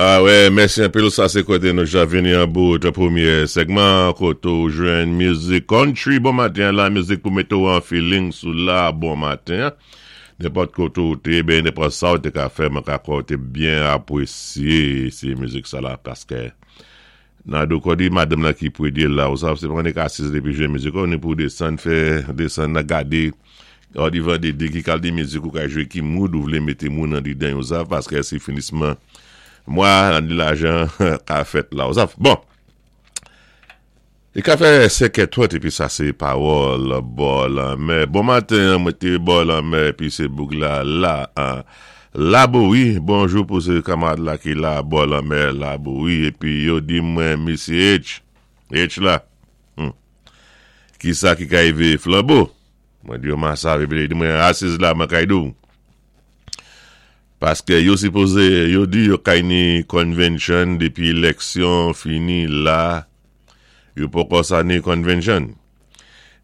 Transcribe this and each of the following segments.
Ah wè, mèsi anpil sa sé koté nou ja vini an bout pwémyé sègman koté ou jwenn mizik country bon maten an la mizik pou mété ou an feeling sou la bon maten an nenpòt koté ou té ben nenpòt sa ou té ka fè mwen ka kwè ou té byen apwésyé sé mizik sa la paskè Nado kòdi madanm lan ki pwedye la ou sav se pa nèg asiz depi jwe mizik ou ni pou desann fè desann nan gade kòdi vande de ki kalite mizik ou ka jwe ki mood ou vle mete moun andedan yon sav paske se finisman mwa an di lajan ka fèt la ou sav bon li ka fè 5 è 30 epi sa se pawòl bò lanmè bon maten an mwen te bò lanmè epi se boug la la an Labouyi, bonjou pou se kamarad la ki la bò lanmè Labouyi epi yo di mwen misye H, H la, hum, kisa ki ka rive Flanbo? Mwen di yo ma sav epi li di mwen asiz la mwen kay di w. Paske yo sipoze yo di yo kay ni convention depi eleksyon fini la yo poko sa ni convention.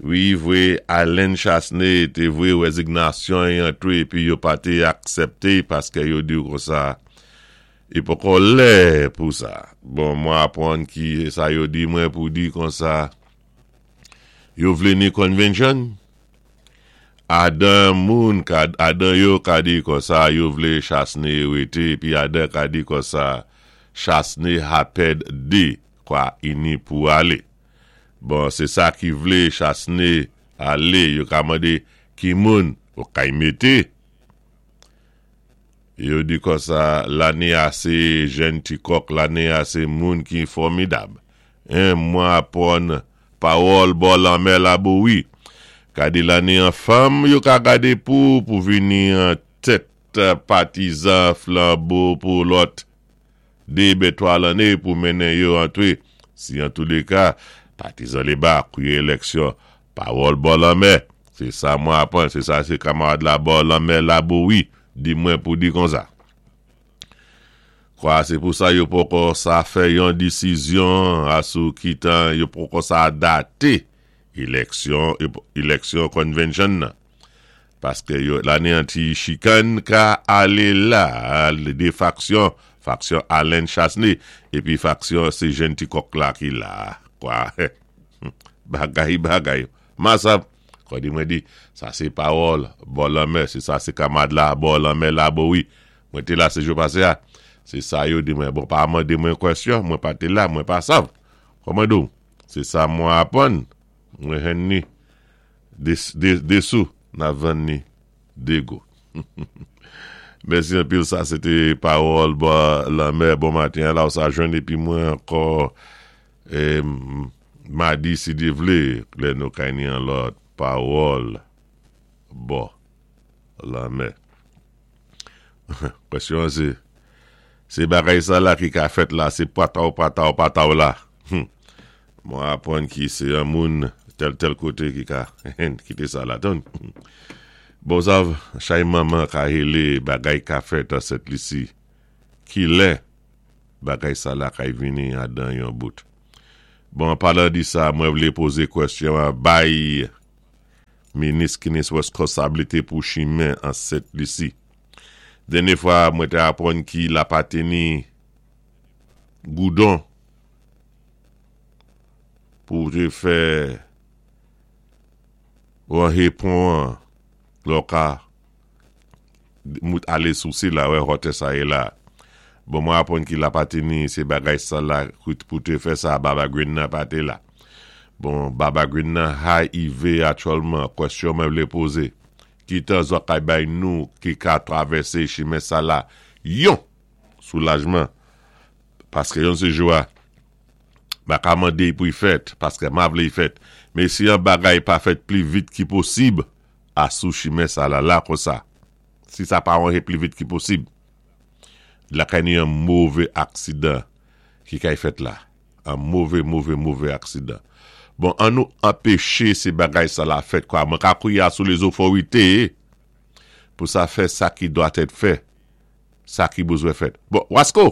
Wi vwe Allen Chastanet te vwe rezignasyon y antre epi yo pa te aksepte paske yo diw konsa i poko lè pou sa. Bon mwen apwann ki sa yo di mwen pou di konsa yo vle ni convention adan moun ka adan yo ka di konsa yo vle Chastanet rete epi adan ka di konsa Chastanet haped de kwa ini pou ale. Bon se sa ki vle chasne ale yo ka mande ki moun ou kay mete yo di konsa lane a se jèn ti kòk lane a se moun ki fòmidab hein mwen apwann pawòl bò lanmè labouwi gade lane an fanm yo ka gade pou pou vini an tèt patizan flanbo pou lòt 2 ben 3 lanne pou mennen yo antre si antouleka patizan leba kwiye elèksyon pawòl bò lanmè se sa mwen aprann se sa se kamarad la bò lanmè labouwi di mwen pou di konsa kwa se pou sa yo poko sa fè yon disizyon asou kitan yo poko sa date elèksyon elèksyon convention nan. Paske yo lane an ti chikann ka ale la 2 faksyon, faksyon Alen Chasne epi faksyon se jenn ti kòk la ki la kwa bagay bagay masa kòdi mwen di sa se pawòl bò lanmè se sa se kamad la bò lanmè la bo wi mwen te la se jou pase a se sa yo di mwen bon pa mande mwen kwèsyon mwen pa te la mwen pa sav kòman di w se sa mwen aprann mwen henn ni. 2 sou na vann ni 2 go. Mèsi anpil sa se te pawòl bò lanmè bon maten an la ou sa jwenn epi mwen ankò madi si Dye vle lè nou kay ni an lòt pawòl bò lanmè. Kwèsyon an se se bagay sa la ki ka fèt la se pataw pataw pataw la. Humm mwen aprann ki se yon moun tèl tèl kote ki ka kite sa la tann bon sav chay manman ka hele bagay ka fèt an sent lisi kilè bagay sa la kay vini adan yon bout bon an palan di sa mwen vle poze kwèsyon an bay minis ki ni reskonsablite pou chimen an sent lisi dènye fwa mwen te aprann ki lapateni goudon pou w te fè ranhe pon an lè w ka mout ale sou sila wè hòtè sa ye la bon mwen aprann ki lapatini se bagay sa la pou te fè sa baba green nan pa te la bon baba green nan hiv aktyèlman kwèsyon mwen vle poze ki tan zòt kay bay nou ki ka travèse chimen sa la yon soulajman paske yon se jou a ma ka mande pou y fèt paske ma vle y fèt men si yon bagay pa fèt pli vit ki posib a sou chimen sa la la konsa si sa pa ranje pli vit ki posib lakay ni yon move aksidan ki kay fèt la an move move move aksidan bon an nou anpeche se bagay sa la fèt kwa mwen ka kouye a sou lezoforite pou sa fè sa ki dwa tèt fè sa ki bezwen fèt. Bon, Wasko!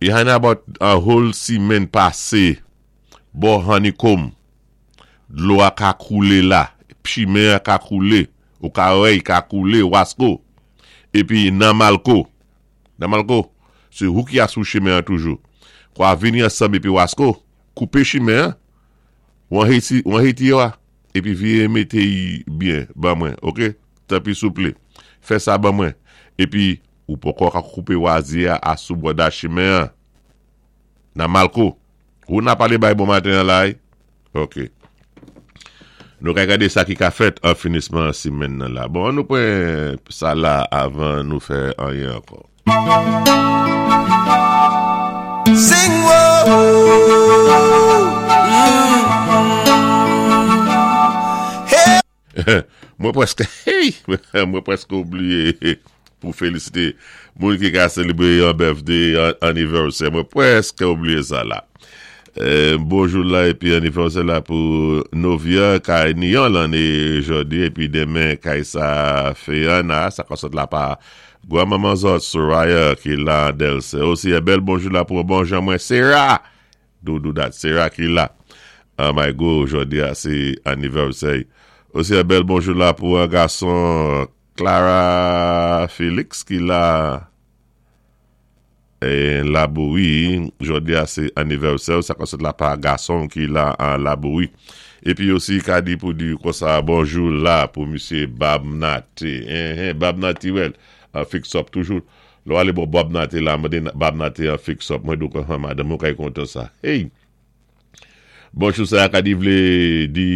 Behind about a whole simenn pase bò honeycomb, dlo a ka koule la, chimen an ka koule, ou ka wè i ka koule, Wasko. Epi nan Malko. Nan Malko, sé wou ki asou chimen an toujou. Kwa vini ansanm épi Wasko, koupé chimen an, wan Haiti, wan Haiti yo a, épi viyé mété y byen ban mwen, ok? Tanpi souplé, fè sa ban mwen. Épi, ou poko ka koupé wazyé a asou bòda chimen an. Nan Malko, wou na palé bay bon maten an la y? Ok. Nou ka gade sa ki ka fèt an finisman simenn nan la. Bon, an nou pran sa la avan nou fè anyen ankò. Sing whoa, hey. Mwen prèske hey mwen prèske oubliye pou felisite moun ki ka selebre yon birthday, yon anniversaire. Mwen prèske oubliye sa la. Bonjou la epi anniversaire la pou Novia kay ni yon lane jodi epi demen kay sa Feyana sa ka sot la pa gwan manman zòt Soraya ki la Delse. Osi yon bèl bonjou la pou bon jan mwen Sera Doudou dat Sera ki la an my go jodi a se anniversaire osi yon bèl bonjou la pou an gason Clara Felix ki la Labouri jodi a se anniversaire sa ka sot la pa gason ki la an Labouri epi osi ka di pou di konsa bonjou la pou misye Bab Nate Bab Natirèl an fix up toujou Lè w ale bò Bob Nate la mande Bob Nate an fix up mwen di w konsa madanm ou kay kontan sa hey Bonjou sa ka di vle di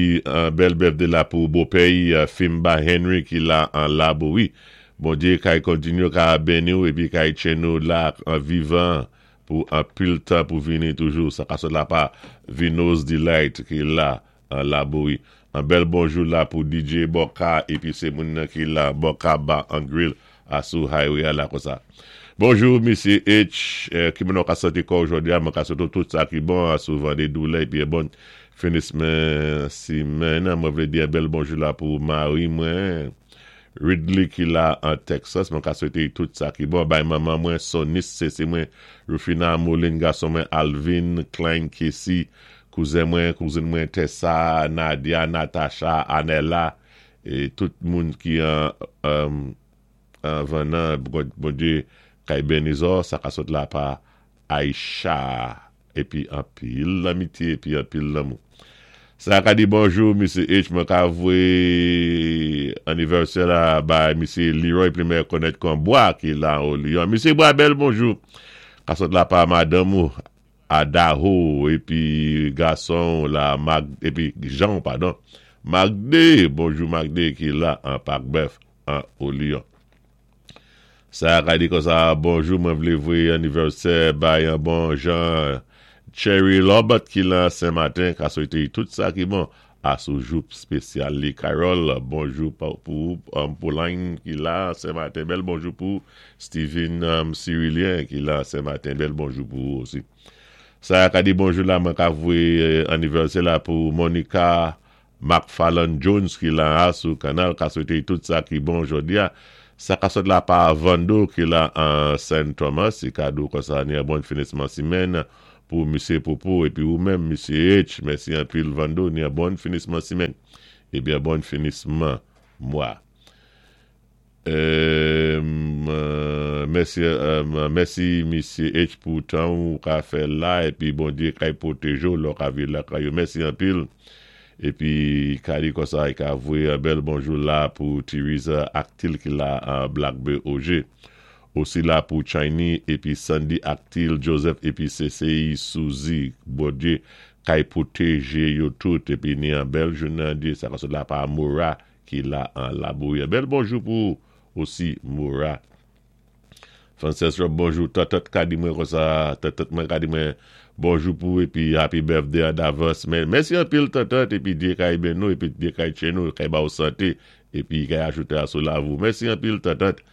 bèl birthday la pou bopè y Fimba Henry ki la an labo wi Bondye kay kontinye ka beni w epi kay tchen ou la an vivan pou anpil tan pou vini toujou sa ka sot la pa Vino's Delight ki la An labouyi. An bèl bonjou la pou DJ Bòka epi se moun nan ki la Bòka Bar and Grill a sou highway a la konsa. Bonjou Mesye H, ki moun ou ka santi kò w jodi a? Mwen ka swete w tout sa ki bon a souvan de doulè epi en bon finisman simèn. Mwen vle di en bèl bonjou la pou mari mwen Ridley ki la an Texas. Mwen ka swete y tout sa ki bon. Bay manman mwen Sonis, sese mwen Rufina Moulin, gason mwen Alvin, Klein Casey, Kouzen mwen, kouzin mwen Tessa, Nadia, Natacha, Anella e tout moun ki an vannan Bondye kay beni zò sa ka sot la pa Aïcha epi anpil lanmitye epi anpil lanmou. Sa ka di bonjou Misye H mwen ka voye anivèsè la bay Misye Leroy pli mè konèt kon Bwa ki la o Lyon. Misye Bwa bèl bonjou ka sot la pa madanm ou Adaho epi gason w la Mag epi Jan w padon Magde bonjou Magde ki la an pak bèf an o Lyon Sa ka di konsa bonjou mwen vle voye anivèsè bay an bon jan Cherry Lobert ki lan Sen Maten ka swete y tout sa ki bon a sou jou spesyal li Carol bonjou pou ou Pauline ki la Sen Maten bèl bonjou pou ou Steven Cyrilien ki la Sen Maten bèl bonjou pou ou osi Saya ka di bonjou la mwen ka voye anivèsè la pou Monica Macfarlane Jones ki la a sou kanal ka swete tout sa ki bon jodi a sa ka sot la pa Vando ki la an Sen Thomas si kado konsa ni bon finisman simèn Pou misye Popo epi ou menm misye H mèsi anpil Vando ni bon finisman simèn ebyen bon finisman mwa Humm mèsi mèsi misye H pou tan ou ka fè la epi Bondye kay pwoteje w lè w ka viv lakay ou mèsi anpil epi ka di konsa e ka voye yon bèl bonjou la pou Theresa Actil ki la Black Be OG. Osi la pou Chiny epi Sandy ak Til Joseph epi Cci Suzy Bondye kay pwoteje yo tout epi ni an bèl jounen an Dye sa ka sot la pa Mora ki la an labouyi an bèl bonjou pou ou osi Mora Frances Rob bonjou Tantant ka di mwen konsa Tantant mwen ka di mwen bonjou pou ou epi happy birthday an davans men mèsi anpil Tantant epi Dye kay beni w epi Dye kay tcheni w kay ba ou sante epi kay ajoute a sou lavi w mèsi anpil Tantant.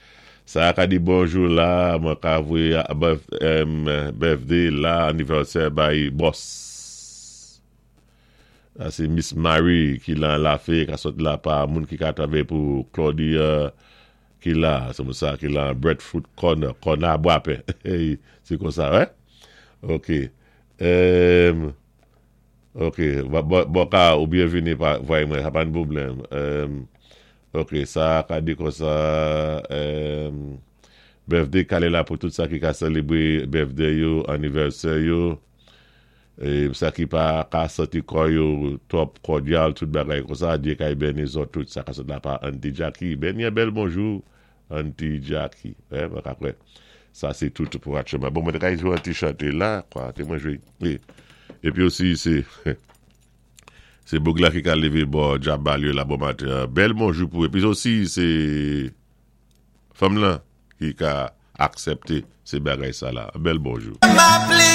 Sa ka di bonjou la mwen ka voye birthday la anniversaire bay boss sa se miss Marie ki lan lafe ka sot la pa moun ki ka travay pou Claudia ki la se moun sa ki lan breadfruit corner kòna bwapen se konsa wè ok ok bon ka ou byen vini pa voye mwen sa pa yn pwoblèm. Ok sa ka di konsa emm. Birthday kale la pou tout sa ki ka sélébwé birthday yo, anivèsè yo, é sa ki pa ka santi kò yo twòp kòdyal, tout bagay konsa, Dye kay béni zòt tout sa ka sot la pa Auntie Jackie. Béni bèl bonjou, Auntie Jackie. Eh, mwen ka kwè. Sa sé tout pou aktyèlman. Bon, mwen ka jwé yon ti chanté la, kwa, té mwen jwé. Épi osi sé sé boug la ki ka lévé bò djabal yo la bon maten. Bèl bonjou pou épi osi sé fanm lan ki ka aksépté sé bagay sa la. Bèl bonjou.